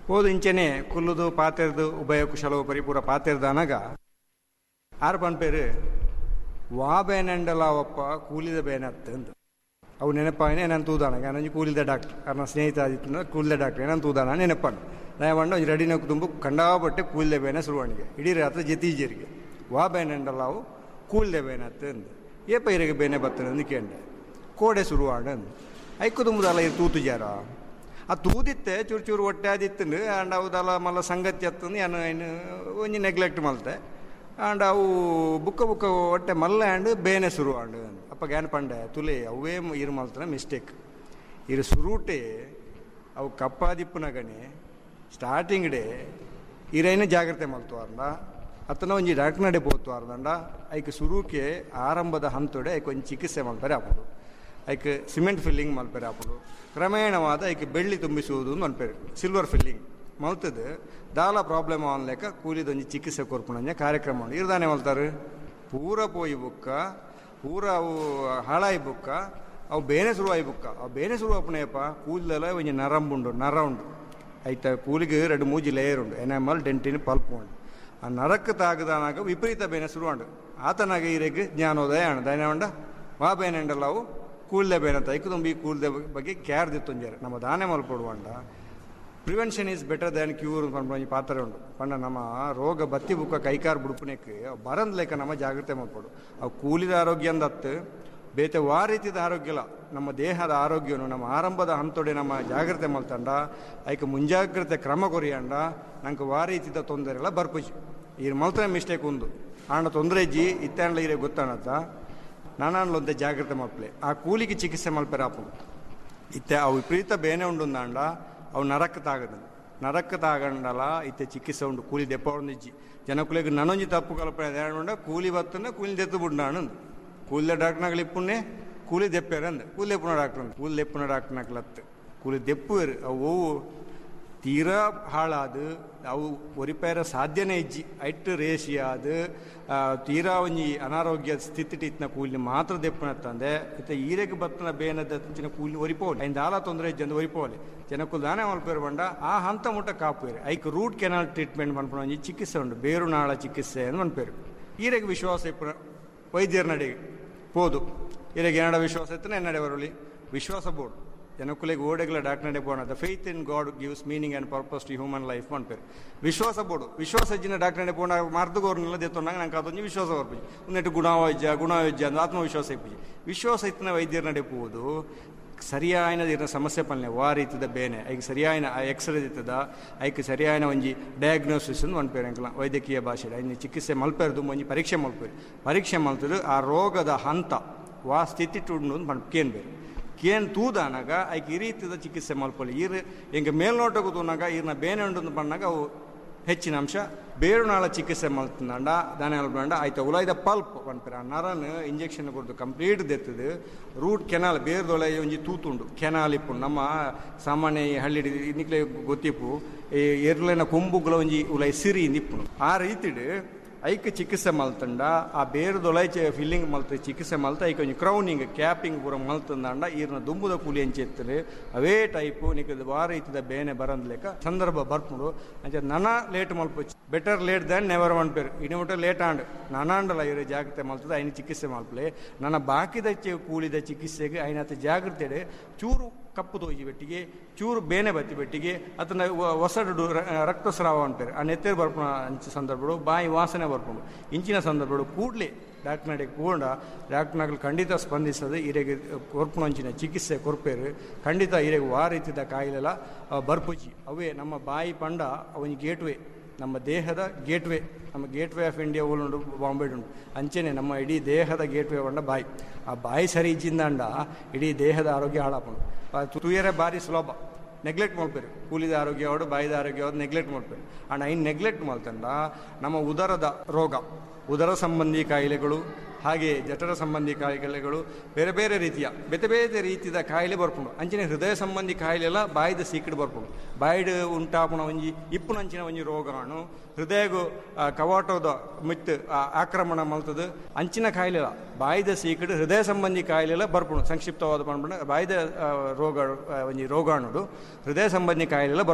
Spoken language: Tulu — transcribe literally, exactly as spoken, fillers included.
ಪೋದು ಇಂಚೆನೆ ಕುಲ್ಲುದು ಪಾತೆರ್ದು ಉಭಯ ಕುಶಲವು ಪರಿಪೂರ ಪಾತೆರ್ದಾನಗ ಆರು ಪನ್ಪೇರು ವಾ ಬೇನೆಂಡಲ ಒಪ್ಪ ಕೂಲಿದ ಬೇನತ್ತು ಅಂದು. ಅವು ನೆನಪಾಯಿನ ಏನಂತ ತೂದಾನ ನಾನೊಂಜಿ ಕೂಲಿದ ಡಾಕ್ಟರ್ ಅರ್ನ ಸ್ನೇಹಿತ ಆದಿತ್ತು ಕೂಲಿದ ಡಾಕ್ಟರ್ ಏನಂತ ತೂದಾನ ನೆನಪಣ್ಣು ದಯಮಂಡ ಒಂಜಿ ರೆಡಿನ ತುಂಬ ಕಂಡಾಪಟ್ಟೆ ಕೂಲಿದ ಬೇನೆ ಶುರುವಾಣಿಗೆ ಇಡೀ ರಾತ್ರಿ ಜತೀಜರಿಗೆ ವಾ ಬೇನೆಂಡಲ ಅವು ಕೂಲಿದ ಬೇನತ್ತು ಅಂದು. ಏಪ ಇರಗೆ ಬೇನೆ ಬರ್ತದೆ ಅಂದು ಕೇಂಡೆ ಕೋಡೆ ಶುರುವಾಣ ಅಂದು. ಐಕ್ಕು ತುಂಬುದಲ್ಲ ಇರು ತೂತು ಜಾರ ಆ ತೂದಿತ್ತೆ ಚೂರು ಚೂರು ಹೊಟ್ಟೆ ಆದಿತ್ತು ಆಂಡ್ ಅವುದಲ್ಲ ಮಲ್ಲ ಸಂಗತಿ ಅತ್ತಂದು ಏನು ಏನು ಒಂಜಿ ನೆಗ್ಲೆಕ್ಟ್ ಮಲ್ತೆ ಆಂಡ್ ಅವು ಬುಕ್ಕ ಬುಕ್ಕ ಹೊಟ್ಟೆ ಮಲ್ಲ ಆಂಡ್ ಬೇನೆ ಶುರು ಆಂಡ್. ಅಪ್ಪ ಗ್ಯಾನ್ ಪಂಡೆ ತುಲೆ ಅವೇ ಇರು ಮಲ್ತನ ಮಿಸ್ಟೇಕ್ ಇರು ಸುರೂಟೆ ಅವು ಕಪ್ಪಾದಿಪ್ಪುನಗನೆ ಸ್ಟಾರ್ಟಿಂಗ್ ಡೇ ಇರೈನ ಜಾಗ್ರತೆ ಮಲ್ತುವಾರ್ದ ಅತ್ತನ ಒಂಜಿ ಡಾಕ್ಟರ್ ನಡೆ ಪೋತುವಾರ್ದಂಡ ಐಕ್ ಸುರೂಕೆ ಆರಂಭದ ಹಂತೊಡೆ ಐಕ್ ಒಂಜಿ ಚಿಕಿತ್ಸೆ ಮಲ್ಪರೆ ಆಪುಂಡು. ಐಕ್ ಸಿಮೆಂಟ್ ಫಿಲ್ಲಿಂಗ್ ಮಲ್ಪರೆ ಆಪುಂಡು. ಕ್ರಮೇಣವಾದ ಐಕ್ ಬೆಳ್ಳಿ ತುಂಬಿಸುವುದು ಮನ್ಪೇರು ಸಿಲ್ವರ್ ಫಿಲ್ಲಿಂಗ್ ಮಲ್ತದು ದಾಲ ಪ್ರಾಬ್ಲಮ್ ಆನ್ ಲೆಕ್ಕ ಕೂಲಿದೊಂಜಿ ಚಿಕಿತ್ಸೆ ಕೊರ್ಪುಣಂಜ ಕಾರ್ಯಕ್ರಮ ಉಂಡು. ಇರ್ದಾನೆ ಮಲ್ತಾರೆ ಪೂರ ಪೋಯಿ ಬುಕ್ಕ ಪೂರ ಅವು ಹಾಳಾಯಿ ಬುಕ್ಕ ಅವು ಬೇನೆ ಶುರುವಾಯಿ ಬುಕ್ಕ ಅವು ಬೇನೆ ಶುರು ಆಪುಣೆಯಪ್ಪ ಕೂದಲೆಲ್ಲ ಒಂಜಿ ನರಂಬುಂಡು ನರ ಉಂಡು ಐತ ಕೂಲಿಗೆ ಎರಡು ಮೂಜಿ ಲೇಯರ್ ಉಂಡು ಎನಾಮಲ್ ಡೆಂಟಿನ ಪಲ್ಪ್ ಉಂಡು. ಆ ನರಕ್ಕೆ ತಾಗದಾನಾಗ ವಿಪರೀತ ಬೇನೆ ಶುರುವಾಂಡು ಆತನಾಗ ಈರೆಗ್ ಜ್ಞಾನೋದಯ ಆಂಡ್ ದಯನವಂಡ ವಾ ಬೇನೆ ಅವು ಕೂದಲೇ ಬೇನೆ ಅಂತ ಐಕು ತುಂಬಿ ಕೂದಲ ಬಗ್ಗೆ ಕೇರ್ ದಿತ್ತೊಂಜಾರೆ ನಮ್ಮ ದಾನೆ ಮಲ್ಪೊಡುವಂಡ prevention is better than cure ಪನ್ಪುನ ಒಂಜಿ ಪಾತ್ರ ಉಂಡು. ಪಂಡ ನಮ್ಮ ರೋಗ ಬತ್ತಿ ಬುಕ್ಕ ಕೈಕಾರ್ ಬುಡುಪುನೆಕ್ ಬರಂದ್ ಲೆಕ್ಕ ನಮ್ಮ ಜಾಗ್ರತೆ ಮಲ್ಪೊಡು. ಅವು ಕೂಲಿದ ಆರೋಗ್ಯ ಅಂದತ್ತು ಬೇತೆ ವಾ ರೀತಿದ ಆರೋಗ್ಯ ಇಲ್ಲ. ನಮ್ಮ ದೇಹದ ಆರೋಗ್ಯನು ನಮ್ಮ ಆರಂಭದ ಹಂತೊಡೆ ನಮ್ಮ ಜಾಗ್ರತೆ ಮಲ್ತಂಡ ಐಕ್ ಮುಂಜಾಗ್ರತೆ ಕ್ರಮ ಕೊರಿಯಂಡ ನಂಗೆ ವಾ ರೀತಿದ ತೊಂದರೆ ಎಲ್ಲ ಬರ್ಪುಜಿ. ಈ ಮಲ್ತನ ಮಿಸ್ಟೇಕ್ ಉಂದು ಆಂಡ ತೊಂದರೆ ಇಜ್ಜಿ ಇತ್ತಾಂಡ್ಲ ಇರೆ ಗೊತ್ತಾಣತ್ತ ನಾನಾಂಡ್ಲೊಂತೆ ಜಾಗ್ರತೆ ಮಲ್ಪಲೆ ಆ ಕೂಲಿಗೆ ಚಿಕಿತ್ಸೆ ಮಲ್ಪೆರ ಆಪುಂಡು. ಇತ್ತೆ ಅವು ವಿಪರೀತ ಬೇನೆ ಉಂಡುಂದಾಂಡ ಅವು ನರಕ್ಕೆ ತಾಗದ ನರಕ್ಕೆ ತಾಗಂಡಲ ಇತ್ತೆ ಚಿಕಿತ್ಸೆ ಉಂಡು ಕೂಲಿ ದೆಪ್ಪ ಇಜ್ಜಿ ಜನಕುಲೆಗ್ ನನೊಂಜಿ ತಪ್ಪು ಕಲ್ಪನೆ ಉಂಡ ಕೂಲಿ ಬತ್ತನ ಕೂಲಿ ದೆತ್ತು ಬುಡ್ಡಾಣ ಕೂಲಿದ ಡಾಕ್ಟರ್ನಾಗಲಿ ಇಪ್ಪುಣ್ಣೆ ಕೂಲಿ ದೆಪ್ಪೇರ ಅಂದ ಕೂಲಿ ದೆಪ್ಪುನ ಡಾಕ್ಟರ್ ಅಂದ ಕೂಲಿ ದೆಪ್ಪುನ ಡಾಕ್ಟರ್ನಾಗ್ಲತ್ತು ಕೂಲಿ ದೆಪ್ಪುವೇರು ಅವು ತೀರಾ ಹಾಳಾದ ಅವು ಒರಿಪೇರ ಸಾಧ್ಯನೇ ಇಜ್ಜಿ ಐಟ್ ರೇಷಿಯಾದ ತೀರಾ ಒಂಜಿ ಅನಾರೋಗ್ಯ ಸ್ಥಿತಿ ಇತ್ತಿನ ಕೂಲಿ ಮಾತ್ರ ದೆಪ್ಪನತ್ತಂದೆ ಇತ್ತ ಈರೆಗೆ ಬತ್ತನ ಬೇನದ ತುಂಚಿನ ಕೂಲಿ ಒರಿಪೋಲಿ ಐನ್ ದಾಲ ತೊಂದರೆ ಇಜ್ಜಂದು ಒರಿಪೋಲಿ ಜನಕ್ಕೂ ದಾನೆ ಮಲ್ಪೇರು ಬಂಡ ಆ ಹಂತ ಮುಟ್ಟ ಕಾಪುವೇರು ಐಕ್ ರೂಟ್ ಕೆನಾಲ್ ಟ್ರೀಟ್ಮೆಂಟ್ ಮನ್ಪುನ ಒಂಜಿ ಚಿಕಿತ್ಸೆ ಉಂಡು ಬೇರುನಾಳ ಚಿಕಿತ್ಸೆ ಅಂತ ಮನ್ಪೇರು. ಈರೆಗೆ ವಿಶ್ವಾಸ ಇಪ್ಪುನ ವೈದ್ಯರ ನಡೆಗೆ ಪೋದು ಈರೆಗೆ ಏನಡ ವಿಶ್ವಾಸ ಇತ್ತನ ಎನ್ನಡೆ ಬರಲಿ ವಿಶ್ವಾಸ ಬೋರ್ಡು ಜನಕ್ಕುಲೆಗ್ ಓಡೆಗ್ಲ ಡಾಕ್ಟರ್ ಪೋಣ the faith in God gives meaning and purpose to human life ಪನ್ಪೇರು. ವಿಶ್ವಾಸ ಬೋಡು ವಿಶ್ವಾಸ ಇಜ್ಜಿನ ಡಾಕ್ಟರ್ ಪೋಣ ಮಾರ್ದುಗೋರ್ನೆಲ್ಲ ದೆತ್ತೊಂಡಾಗ ನಂಗೆ ಅದೊಂದು ವಿಶ್ವಾಸ ಬರ್ಪುಜಿ ಒಂದೆಟ್ಟು ಗುಣವೈದ್ಯ ಗುಣವೈದ್ಯ ಅಂದ್ರೆ ಆತ್ಮವಿಶ್ವಾಸ ಇಪ್ಪುಜಿ. ವಿಶ್ವಾಸ ಇತ್ತಿನ ವೈದ್ಯರ ನಡೆ ಪೋದು ಸರಿಯಾಯಿನ ಇರ್ನ ಸಮಸ್ಯೆ ಪನ್ಲೆ ವಾ ರೀತಿದ ಬೇನೆ ಐಕ್ ಸರಿಯಾಯಿನ ಎಕ್ಸ್ರೇ ಇತ್ತದ ಐಕ್ ಸರಿಯಾಯಿನ ಒಂಜಿ ಡಯಾಗ್ನೋಸಿಸ್ ಅಂದ್ ಪನ್ಪೇರು ಎಂಕಲ ವೈದ್ಯಕೀಯ ಭಾಷೆ ಐನ ಚಿಕಿತ್ಸೆ ಮಲ್ಪೇರ್ದು ಒಂಜಿ ಪರೀಕ್ಷೆ ಮಲ್ಪೇರು ಪರೀಕ್ಷೆ ಮಲ್ತದು ಆ ರೋಗದ ಹಂತ ವಾ ಸ್ಥಿತಿ ಟುಂಡು ಪನ್ ಕೇನ್ಬೇರು ಕೇನ್ ತೂದಾನಾಗ ಐಕ್ ಈ ರೀತಿದ ಚಿಕಿತ್ಸೆ ಮಲ್ಪೊಲಿ ಈರ್ ಎಂಕ ಮೇಲ್ನೋಟಕ್ಕೂ ತೂನಾಗ ಈರ್ನ ಬೇನೆ ಉಂಡು ಪನ್ನಾಗ ಅವು ಹೆಚ್ಚಿನ ಅಂಶ ಬೇರುನಾಳ ಚಿಕಿತ್ಸೆ ಮಲ್ತಂಡ ದಾನೆ ಮಲ್ಪಂಡ ಆಯ್ತು ಉಲಾಯ್ದ ಪಲ್ಪ್ ಪನ್ಪೇರು ಆ Naran injection ಕೊಡ್ದು complete ದೆತ್ತದು route canal ಬೇರ್ದೊಳೆ ಒಂಜಿ ತೂತುಂಡು ಕೆನಾಲ್ ಇಪ್ಪುಂಡು. ನಮ್ಮ ಸಾಮಾನ್ಯ ಈ ಹಳ್ಳಿ ನಿಕ್ಲೆ ಗೊತ್ತಿಪ್ಪು ಈ ಎರ್ಲೆನ ಕೊಂಬುಗಳ ಒಂಜಿ ಉಲಾಯಿ ಸಿರಿ ಇಪ್ಪುಂಡು ಆ ರೀತಿಡ್ ಐಕ್ ಚಿಕಿತ್ಸೆ ಮಲ್ತಂಡ ಆ ಬೇರುದೊಳೈ ಫಿಲ್ಲಿಂಗ್ ಮಲ್ತ ಚಿಕಿತ್ಸೆ ಮಲ್ತ ಐಕ್ ಒಂಜಿ ಕ್ರೌನಿಂಗ್ ಕ್ಯಾಪಿಂಗ್ ಪೂರ ಮಲ್ತಂದಾಂಡ ಈರ್ನ ದುಂಬುದ ಕೂಲಿ ಅಂಚೆತ್ತರು ಅವೇ ಟೈಪು ನಿಕ್ ವಾ ರೀತಿದ ಬೇನೆ ಬರಂದ್ ಲೆಕ್ಕ ಸಂದರ್ಭ ಬರ್ಪುಂಡು. ಅಂಚ ನನ ಲೇಟ್ ಮಲ್ಪೊಚ್ಚಿ ಬೆಟರ್ ಲೇಟ್ ದ್ಯಾನ್ ನೆವರ್ ಪನ್ಪೇರು ಇನಿ ಮುಟ್ಟ ಲೇಟ್ ಆಂಡ್ ನನಾಂಡಲ ಇರು ಜಾಗ್ರತೆ ಮಲ್ತದ ಐನ ಚಿಕಿತ್ಸೆ ಮಲ್ಪಲೆ ನನ್ನ ಬಾಕಿದ ಕೂಲಿದ ಚಿಕಿತ್ಸೆಗೆ ಐನಾತ ಜಾಗ್ರತೆ ಚೂರು ಕಪ್ಪು ತೋಜಿ ಬೆಟ್ಟಿಗೆ ಚೂರು ಬೇನೆ ಬತ್ತಿ ಬೆಟ್ಟಿಗೆ ಅದನ್ನ ಒಸಡು ರಕ್ತಸ್ರಾವ ಅಂತಾರೆ ಆ ನೆತ್ತೇರು ಬರ್ಪುಣ ಅಂಚ ಸಂದರ್ಭಗಳು ಬಾಯಿ ವಾಸನೆ ಬರ್ಪುಂಡು ಇಂಚಿನ ಸಂದರ್ಭಗಳು ಕೂಡಲೇ ಡಾಕ್ಟರ್ ನಡೆ ಪೋಂಡ ಡಾಕ್ಟರ್ನಾಗಲು ಖಂಡಿತ ಸ್ಪಂದಿಸದೆ ಈರೆಗೆ ಕೊರ್ಪುಣ ಅಂಚಿನ ಚಿಕಿತ್ಸೆ ಕೊರ್ಪೇರು ಖಂಡಿತ ಈರೆಗೆ ವಾ ರೀತಿದ ಕಾಯಿಲೆಲ್ಲ ಬರ್ಪುಜಿ. ಅವೇ ನಮ್ಮ ಬಾಯಿ ಪಂಡ ಅವನ ಗೇಟ್ವೇ ನಮ್ಮ ದೇಹದ ಗೇಟ್ವೇ ನಮ್ಮ ಗೇಟ್ವೇ ಆಫ್ ಇಂಡಿಯಾ ಉಂಡು ಬಾಂಬೆ ಉಂಡು ಅಂಚೆನೆ ನಮ್ಮ ಇಡೀ ದೇಹದ ಗೇಟ್ವೇ ಪಂಡ ಬಾಯಿ ಆ ಬಾಯಿ ಸರಿ ಇಜ್ಜಿಂದಾಂಡ ಇಡೀ ದೇಹದ ಆರೋಗ್ಯ ಹಾಳಾಪುಂಡು. ತೂಯರೆ ಬಾರಿ ಸುಲಭ ನೆಗ್ಲೆಕ್ಟ್ ಮಲ್ಪೇರು ಕೂಲಿದ ಆರೋಗ್ಯ ಅವಡು ಬಾಯಿದ ಆರೋಗ್ಯ ಅವಡು ನೆಗ್ಲೆಕ್ಟ್ ಮಲ್ಪೇರು ಆಂಡ್ ಐನ್ ನೆಗ್ಲೆಕ್ಟ್ ಮಲ್ತಂಡ ನಮ್ಮ ಉದರದ ರೋಗ ಉದರ ಸಂಬಂಧಿ ಕಾಯಿಲೆಗಳು ಹಾಗೆ ಜಠರ ಸಂಬಂಧಿ ಕಾಯಿಲೆಗಳು ಬೇರೆ ಬೇರೆ ರೀತಿಯ ಬೇರೆ ಬೇರೆ ರೀತಿಯ ಕಾಯಿಲೆ ಬರ್ಪುಂಡು. ಅಂಚನೆ ಹೃದಯ ಸಂಬಂಧಿ ಕಾಯಿಲೆಲ್ಲ ಬಾಯಿದ ಸೀಕಡ್ ಬರ್ಪುಂಡು ಬಾಯಿಡ್ ಉಂಟಾಪುಣ ಒಂಜಿ ಇಪ್ಪುನಂಚಿನ ಒಂಜಿ ರೋಗಾಣು ಹೃದಯಗು ಕವಾಟದ ಮಿತ್ತು ಆಕ್ರಮಣ ಮಲ್ತದು ಅಂಚಿನ ಕಾಯಿಲೆಲ್ಲ ಬಾಯಿದ ಸೀಕಡ್ ಹೃದಯ ಸಂಬಂಧಿ ಕಾಯಿಲೆಲ್ಲ ಬರ್ಪುಂಡು. ಸಂಕ್ಷಿಪ್ತವಾದ ಪನ್ಪುಂಡ ಬಾಯಿದ ರೋಗ ಒಂಜಿ ರೋಗಾಣುಡು ಹೃದಯ ಸಂಬಂಧಿ ಕಾಯಿಲೆಲ್ಲ ಬರ್ಪುಂಡು.